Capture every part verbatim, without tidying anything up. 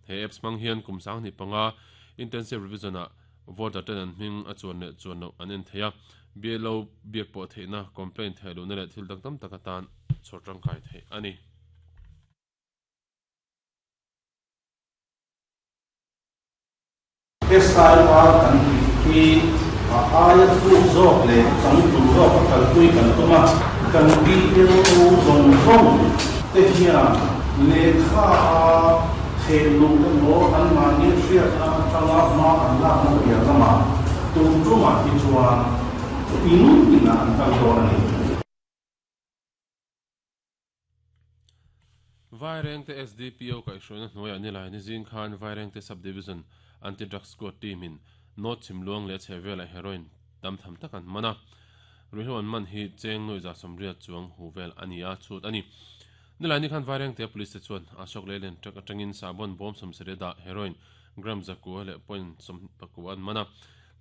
He apps mang hian kum sang ni panga intensive revision a voter ten an hming a chuan le chuan lo an en theia B L O biak pawh theihna complaint thei lu na leh thil dang tam tak atan chhawr tangkai thei ani. S I R kan tih hi a aia thuk zawk leh changtlung zawk a kalpui kan tum a, kan B L O zawng zawng te hian lehkha a thehluh emaw anmahni hriatna atanga hma an lakna piah lamah tun tumah hi chuan in inah an kal dawn a ni. Vairengte S D P O kaihhruaina hnuaiah nilai ni zing khan Vairengte Sub-Division Anti-Drug Squad team-in North Chhimluang leh a chhehvelah heroin tam tham tak an man a. Ruihhlo an man hi cheng nuai za sawmriat chuang hu vel a ni a, chhut a ni. Nilai ni khan Vairengte Police te chuan Ashok Leyland truck atangin sahbawn bawm sawmsarih dah heroin gram zakua leh point sawm pakua an man a.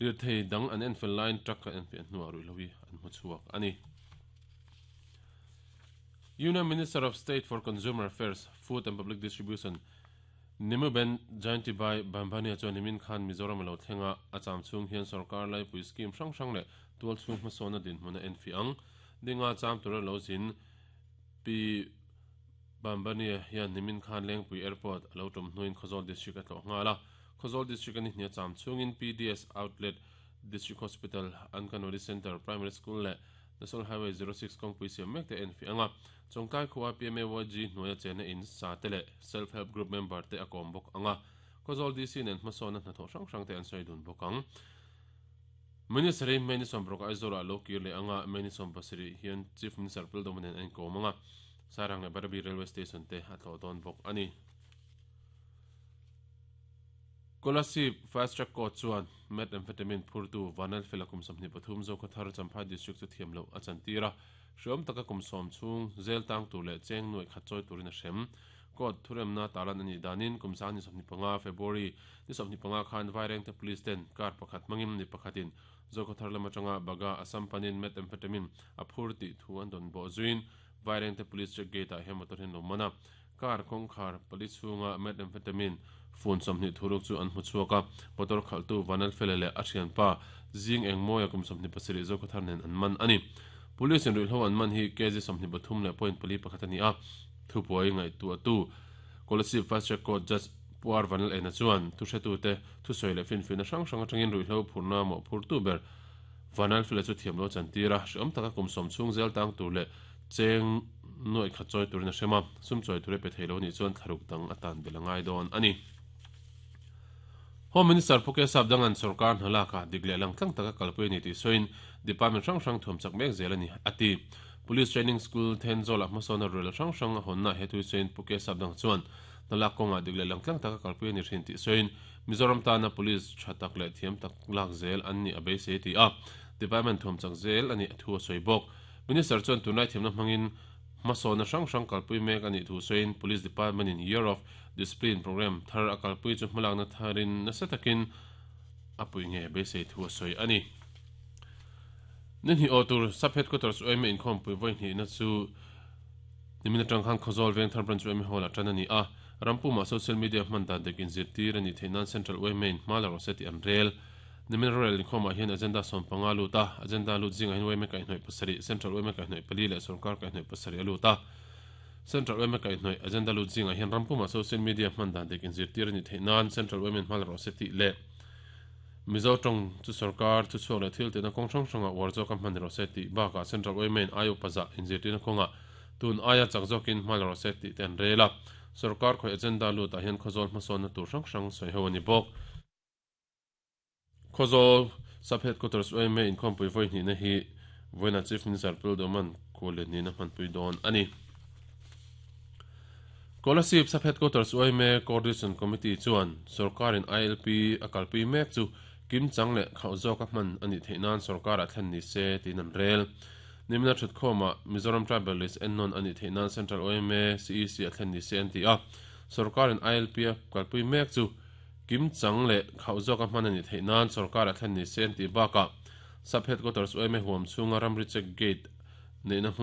Lirthei dang an enfel laiin truck an enfiah hnuah ruihhlo hi an hmu chhuak a ni. Union Minister of State for Consumer Affairs, Food and Public Distribution Nimuben Jayantibhai Bambhania chuan nimin khan Mizoram a lo thleng a, a cham chhung hian sorkar laipui scheme hrang hrang leh tual chhung hmasawn a dinhmun a enfiah ang. Dinga cham tura lo zin Pi Bambhania hian nimin khan Lengpui Airport a lo tum hnuin Khawzawl District a tlawh nghal a. Khawzawl District a ni hnia cham chhungin P D S Outlet, District Hospital, Anganwadi Centre, Primary School leh National Highway zero six kawngpui siam mek te enfiah ang a. Chawngtlai khua P M A Y G hnuaia chenna in sa te leh Self Help Group member te a kawm bawk ang a. Khawzawl D C nen hmasawn a hnathawh hrang hrang te an sawi dun bawk ang. Minister hi May ni sawmparuk Aizawlah lo kir leh ang a, May ni sawm pasarih hian Chief Minister Pildawma nen a inkawm ang a. Sairang leh Barabi Railway Station te a tlawh dawn bawk a ni. Kolasib Fast Track Court chuan methamphetamine phurtu Vanlalfela kum sawmhnih pathum Zokhawthar Champhai District chu thiam loh a chantir a. Hriawm taka kum sawm chhung zel tang tur leh cheng nuai khat chawi turin a hrem. Court thuremna talan a nih danin kum sang ni sawmhnih panga February ni sawmhnih panga khan Vairengte Police ten car pakhat hmangin ni pakhatin Zokhawthar lam atanga Baga Assam panin methamphetamine a phur tih thu an dawn bawh zuiin Vairengte Police check gate ah hian motor hian lo man a. Car kawngkhar pali chhunga methamphetamine fun sawmhnih thuruk chu an hmu chhuak a. Motor khalhtu Vanlalfela leh a thianpa zing engmawia kum sawmhnih pasarih Zokhawthar nen an man a ni. Police in ruihhlo an man hi kg sawmhnih pathum leh point pali pakhat a ni a. Thupuai ngaihtuahtu Kolasib Fast Track Court Judge Puar Vanlal Ena chuan thuhretute thusawi leh finfiahna hrang hrang atangin ruihhlo phurna mawhphurtu ber Vanlalfela chu thiam lo chantir a, hreawm taka kum sawm chhung zel tang tur leh cheng nuai khat chawi turin a hrem a, sum chawi tur e pe thei lo nih chuan thlaruk dang atan bel a ngai dawn a ni. Home Minister Phuket Sapdangan sorkar hna laka dik leh lang tlang taka kalpui a ni tih sawiin department hrang hrang thuam chak mek zel a ni a ti. Police Training School Thenzawl ah hmasawn a rel hrang hrang a hawnna he thui sawiin Phuket Sapdang chuan hna lak kawngah dik leh lang tlang taka kalpui a ni thin tih sawiin Mizoram tana police tha tak leh thiam tak lak zel an ni a beisei ti a. Department thuam chak zel a ni thu a sawi bawk. Minister chuan tunlai thiamna hmangin hmasawn hrang hrang kalpui mek a nih thu sawiin Police Department in Year of Discipline program thar a kalpui chu hmalakna tharin nasa takin a pui nge beisei thu a sawi a ni. Ni hnih aw tur Sub Headquarters U M A inkhawmpui vawi hnihna chu nimin atang khan Khawzawl Vengthar Branch U M A Hall ah tan a ni a. Rampuma social media hman dan dik inzirtir a nih theih nan Central U M A in hma la rawh se tih an rel. Nimin rorel inkhawmah hian agenda sawm panga lut a, agenda lut zingah hian U M A kaihhnawih pasarih, Central U M A kaihhnawih pali leh sorkar kaihhnawih pasarih a lut a. Central U M A kaihhnawih agenda lut zingah hian rampuma social media hman dan dik inzirtir a nih theih nan Central U M A in hma la rawh se tih leh Mizo tawng chu sarkar thu chhuak leh thil tihna kawng hrang hrangah uar zawk a hman rawh se tih bakah Central U M A in aia upa zah inzirtirna kawngah tun aia chak zawkin hma la rawh se tih te an rel a. Sarkar khawih agenda lutah hian Khawzawl hmasawnna tur hrang hrang sawi ho a ni bawk. Khawzawl Sub Headquarters U M A inkhawmpui vawi hnihna hi vawiina Chief Minister Pilduman khuallian nihna hmanpui dawn a ni. Kolasib Sub Headquarters U M A Coordination Committee chuan sarkarin I L P a kalpui mek chu kim chang leh khauh zawk a hman a nih theih nan sarkarah thlen ni se tiin an rel. Nimina thutkhawmah Mizoram Tribal List ennawn a nih theih nan Central U M A C E C a thlen ni se an ti a. Sarkarin I L P a kalpui mek chu kim chang leh khauh zawk a hman a nih theih nan sarkarah thlen ni se an ti bakah Sub Headquarters U M A huam chhunga ramri check gate neihna hmun